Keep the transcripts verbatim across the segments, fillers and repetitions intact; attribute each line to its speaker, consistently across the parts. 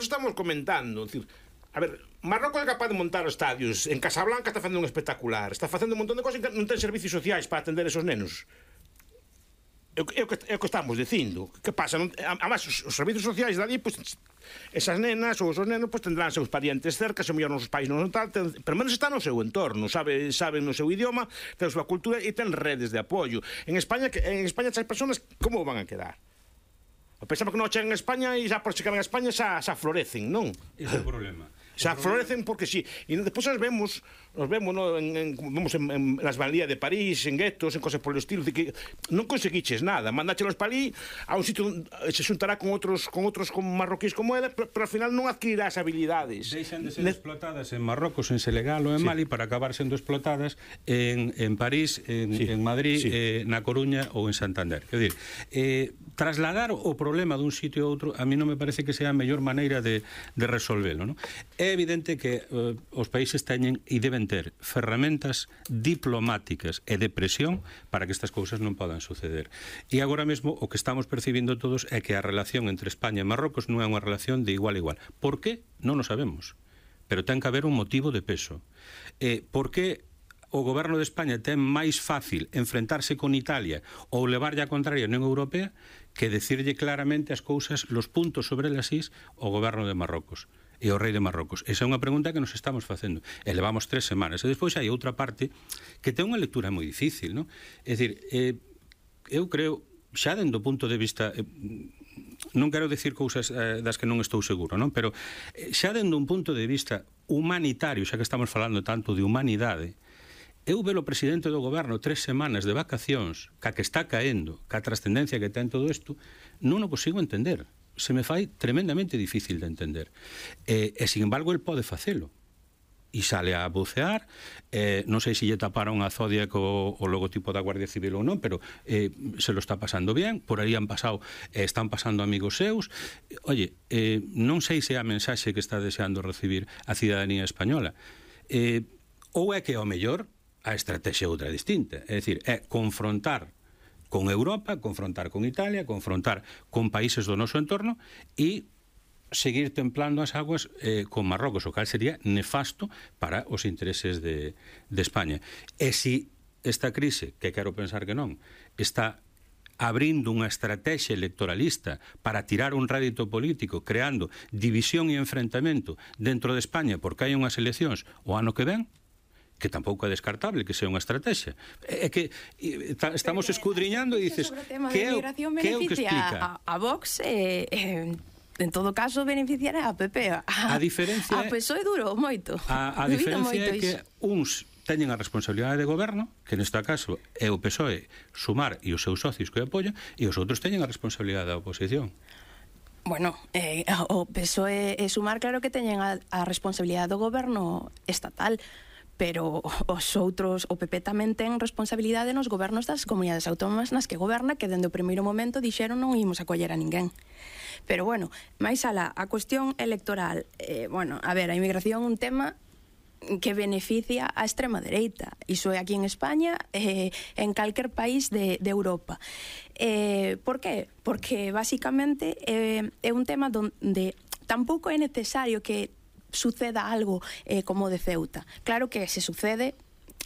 Speaker 1: por eso estamos comentando, decir, a ver, Marrocos é capaz de montar os estadios, en Casablanca está facendo un espectacular, está facendo un montón de cosas e non ten servicios sociais para atender esos nenos. É o que, é o que estamos dicindo. Que pasa? Además, os, os servicios sociais dali, pues, esas nenas ou esos nenos pues, tendrán seus parientes cerca, se mellor nos pais non tal, ten, pero menos está no seu entorno, sabe, saben no seu idioma, ten a súa cultura e ten redes de apoio. En España, en España as persoas como van a quedar? Pensamos que non chegan a España e xa por chegar a España xa, xa florecen, non?
Speaker 2: Ese é o problema.
Speaker 1: Xa florecen porque sí. E despois nos vemos, nos vemos, no, en, en, vemos en, en las banlías de París, en guetos, en cosas por el estilo, de que non conseguiches nada. Mandáchelos para ali, a un sitio se xuntará con outros con outros con marroquíes como ela, pero, pero ao final non adquirirás habilidades.
Speaker 2: Deixan de ser ne... explotadas en Marrocos, en Senegal ou en sí. Mali para acabar sendo explotadas en, en París, en, sí. en Madrid, sí. eh, na Coruña ou en Santander. Quer dizer, eh, trasladar o problema dun sitio a outro a mí non me parece que sea a mellor maneira de, de resolvelo, non? É evidente que uh, os países teñen e deben ter ferramentas diplomáticas e de presión para que estas cousas non podan suceder. E agora mesmo o que estamos percibindo todos é que a relación entre España e Marrocos non é unha relación de igual a igual. Por que? Non o sabemos. Pero ten que haber un motivo de peso. Eh, por que o goberno de España ten máis fácil enfrentarse con Italia ou levarlle a contraria na Unión Europea que decirlle claramente as cousas, los puntos sobre las is ao goberno de Marrocos e o rei de Marrocos? Esa é unha pregunta que nos estamos facendo. E levamos tres semanas. E despois hai outra parte que ten unha lectura moi difícil, non? É dicir, eh, eu creo, xa dentro do punto de vista... Eh, non quero dicir cousas eh, das que non estou seguro, non? Pero eh, xa dentro un punto de vista humanitario, xa que estamos falando tanto de humanidade, eu velo o presidente do goberno tres semanas de vacacións, ca que está caendo, ca trascendencia que ten todo isto, non o consigo entender. Se me fai tremendamente difícil de entender. E, e sin embargo, el pode facelo. E sale a bucear, eh, non sei se lle taparon a Zodiac o, o logotipo da Guardia Civil ou non, pero eh, se lo está pasando bien, por aí han pasado, eh, están pasando amigos seus. Oye, eh, non sei se é a mensaxe que está deseando recibir a cidadanía española. Eh, ou é que ao mellor a estrategia outra distinta, é dicir, é confrontar con Europa, confrontar con Italia, confrontar con países do noso entorno e seguir templando as aguas eh, con Marrocos, o cal sería nefasto para os intereses de, de España. E se esta crise, que quero pensar que non, está abrindo unha estrategia electoralista para tirar un rédito político, creando división e enfrentamento dentro de España porque hai unhas eleccións o ano que ven, que tampouco é descartable que sea unha estrategia. É que estamos escudriñando e dices, que é o que explica?
Speaker 3: A Vox, eh, eh, en todo caso, beneficiará a P P. A,
Speaker 2: a diferencia
Speaker 3: a P S O E durou moito.
Speaker 2: A, a diferencia é que uns teñen a responsabilidade de goberno, que neste caso é o P S O E, Sumar e os seus socios que o apoian, e os outros teñen a responsabilidade da oposición.
Speaker 3: Bueno, eh, o P S O E e Sumar claro que teñen a, a responsabilidade do goberno estatal, pero os outros, o P P tamén ten responsabilidade nos gobernos das comunidades autónomas nas que goberna, que dende o primeiro momento dixeron non imos acoller a ninguén. Pero bueno, máis alá, a cuestión electoral, eh, bueno, a ver, a inmigración é un tema que beneficia a extrema dereita. Iso é aquí en España, eh, en calquer país de, de Europa. Eh, por qué? Porque basicamente eh, é un tema donde tampouco é necesario que suceda algo eh, como de Ceuta. Claro que se sucede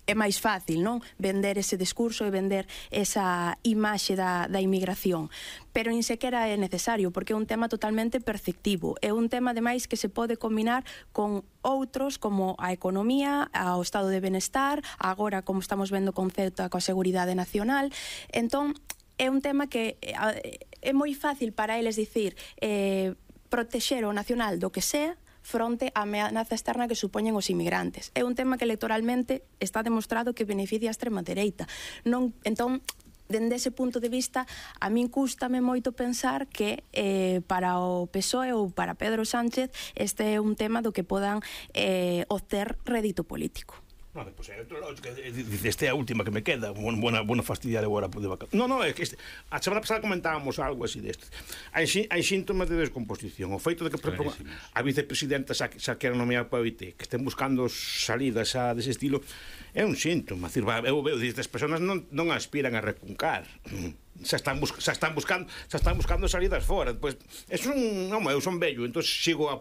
Speaker 3: é máis fácil, non? Vender ese discurso e vender esa imaxe da, da inmigración. Pero nin sequera é necesario, porque é un tema totalmente perceptivo. É un tema, ademais, que se pode combinar con outros, como a economía, ao estado de benestar, agora, como estamos vendo con Ceuta, coa seguridade nacional. Entón, é un tema que é moi fácil para eles dicir eh, protexer o nacional do que sea, fronte á ameaza externa que supoñen os inmigrantes. É un tema que electoralmente está demostrado que beneficia a extrema dereita. Non, entón, dende ese punto de vista, a min cústame moito pensar que eh, para o P S O E ou para Pedro Sánchez este é un tema do que podan eh, obter rédito político.
Speaker 1: No, pues, esta é a última que me queda. Buena, buena fastidiar agora de vaca. No, no, é que este, a semana pasada comentábamos algo así deste. Hai, hai síntomas de descomposición. O feito de que a vicepresidenta xa, xa quera nomear para o I T, que estén buscando salidas a dese estilo, é un síntoma. Decir, eu veo que estas persoas non, non aspiran a recuncar. Xa están, bus, xa están buscando xa están buscando salidas fora. Pois, pues, é un, non, eu son vello, entón sigo a